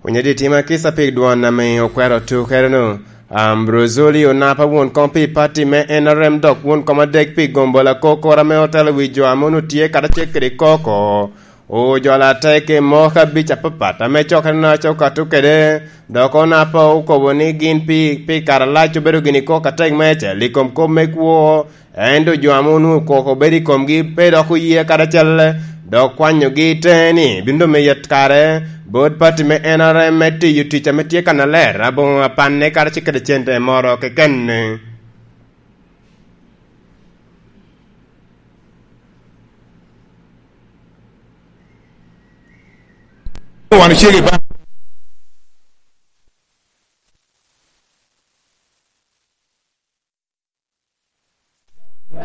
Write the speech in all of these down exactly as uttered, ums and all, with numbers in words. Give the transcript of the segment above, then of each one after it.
Onyo di tima kica pi dwon ame okwero tukere-nu. Ambrozoli onapa won kom pi pati me N R M dok won kom adek pi gombo lakokoro ame otelo wi jo ame onwoŋo tye karacel kede koko. Ojolo atek i moko abic apapat ame cokere-nu aco okato kede, dok onapa okobo ni gin pi, pi kare alac obedo gin i koko atek meicel i kom kop me kwo, ento jo ame onwoŋo koko bedo i komgi pe dok oye karacel, dok kwanyogi i teŋe ni bino doŋ meyo kare bot pati me N R M me tiyo tic ame tye kannaler aboŋo apanne karacel kede cente moro keken. Wan ocego i bank.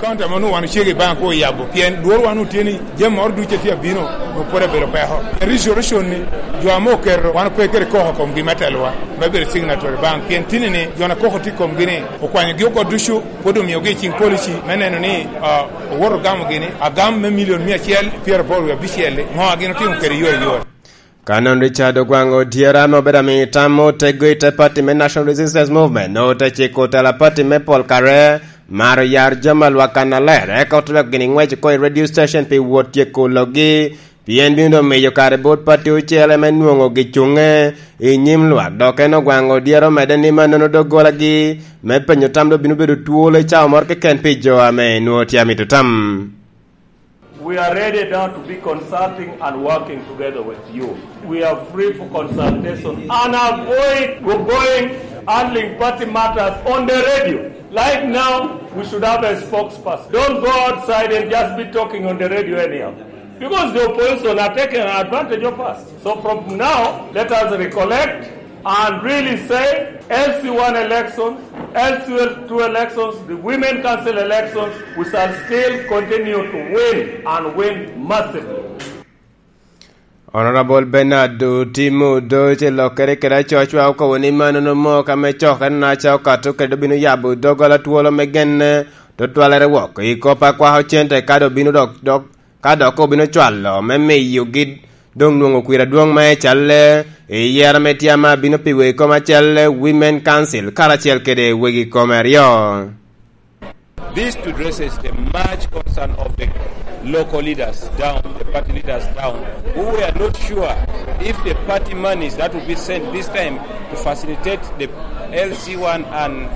Kaunti ame onwoŋo wan ocego i bank oyabo, pien lworo wan otye ni jami moro ducu a tye abino, onwoŋo pwod abedo peko. Restoration ni, jo ame oketo, wan ope kede koko komgi me telowa, me bedo signatory bank, pien tini ni jo a koko tye komgi ni, okwanyogi oko ducu, pwod omiogi i ciŋ policy me neno ni, ah, owoto ogamogi ni, agam me milion mia acel pyeraboro wie abicel-li, ŋo a gin otimo kede yore yore? Ka nongo Richard Ogwang Odyero ame obedo amiyo tam me otego i te pati me National Resistance Movement, nongo te ciko otela pati me pol kare, maro yar jami a lwak kannaler, eka ote dok gini ŋwec oko i radio station pi wot tyeko logi, pien bino doŋ miyo kare bot pati ocele me nwoŋo gicuŋe i nyim lwak, dok en Ogwang Odyero omedde ni mannono doggolagi me penyo tam doŋ bino bedo twolo i cawa moro keken pi jo ame nwoŋo tye amito tam. We are ready now to be consulting and working together with you. We are free for consultation and avoid go-, going handling party matters on the radio. Like now, we should have a spokesperson. Don't go outside and just be talking on the radio anyhow. Because the opposition are taking advantage of us. So from now, let us recollect and really say, L C one elections, L C two elections, the Women Council elections, we shall still continue to win and win massively. Honorable Bernard Otimo Odoce lokkere kede acocwa okobo ni mano nomo ka me cokere na ca okato kede obino yabo doggola twolo me genne tutwalere wok i kop akwako cente kadi obino dok, dok ka dok obino cwalo me miyogi doŋ nwoŋo kwir adwoŋ me calle i yero me tye ame abino pi wegi kome acel, Women Council, karacel kede wegi kome aryo. This to addresses the much concern of the local leaders down, the party leaders down, who were not sure if the party monies that will be sent this time to facilitate the L C one and,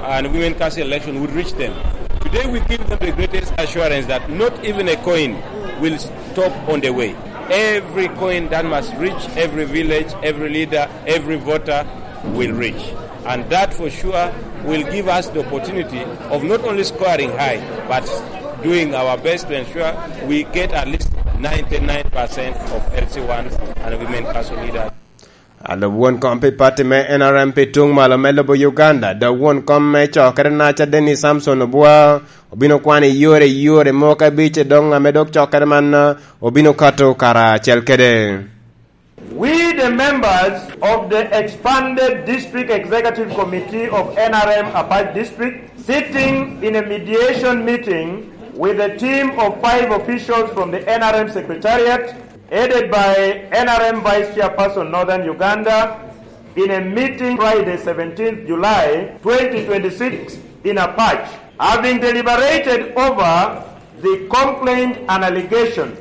and Women Council election would reach them. Today we give them the greatest assurance that not even a coin will stop on the way. Every coin that must reach every village, every leader, every voter will reach. And that for sure will give us the opportunity of not only scoring high, but doing our best to ensure we get at least ninety-nine percent of L C ones and Women Council leaders. Alub won kom pi pati me N R M pi tuŋ malo me lobo Uganda, dok won kom me cokere naca Dennis Samson Obua, obino kwano i yore, i yore moko abic doŋ ame dok cokere man obino kato kara acel kede. We, the members of the expanded District Executive Committee of N R M Apac District, sitting in a mediation meeting with a team of five officials from the N R M Secretariat, headed by N R M Vice Chairperson Northern Uganda, in a meeting Friday, seventeenth July twenty twenty-six, in Apac, having deliberated over the complaint and allegation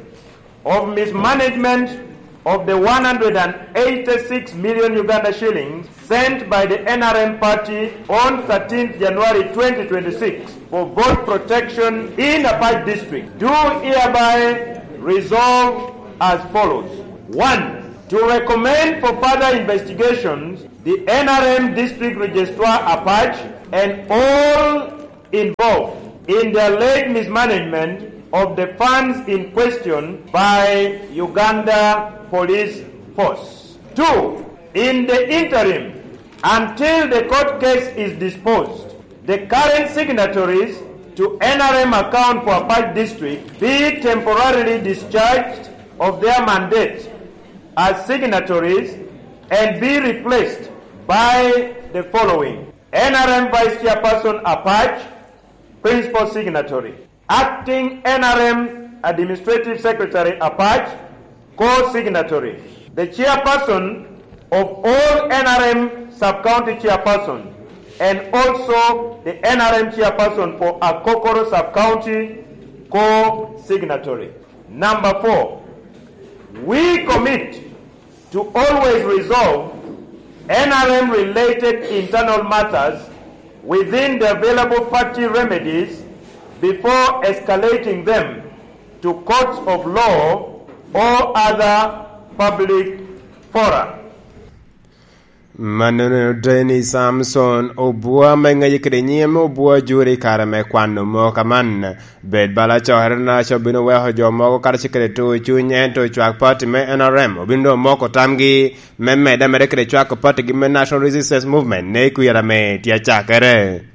of mismanagement of the one hundred and eighty-six million Uganda shillings sent by the N R M party on thirteenth January twenty twenty-six for vote protection in Apac District, do hereby resolve as follows. One, to recommend for further investigations the N R M District Registrar Apac and all involved in the alleged mismanagement of the funds in question by Uganda Police Force. Two, in the interim, until the court case is disposed, the current signatories to N R M account for Apac District be temporarily discharged of their mandate as signatories and be replaced by the following: N R M Vice Chairperson Apac, Principal Signatory. Acting N R M Administrative Secretary Apac, Co-Signatory. The Chairperson of all N R M sub-county chairperson and also the N R M chairperson for Akokoro sub-county co-signatory. Number four, we commit to always resolve N R M related internal matters within the available party remedies before escalating them to courts of law or other public fora. Mannono Dennis Samson obwa me ŋeye kede nyim obwa juri kare me kwano moko aman. Bed bala cokere na co bino weko jo mogo karacel kede tuo cuny ento cwak pati me N R M obino doŋ moko tamgi me medde ameda kede cwako pati gi me National Resistance Movement ne kwira me tye acakere.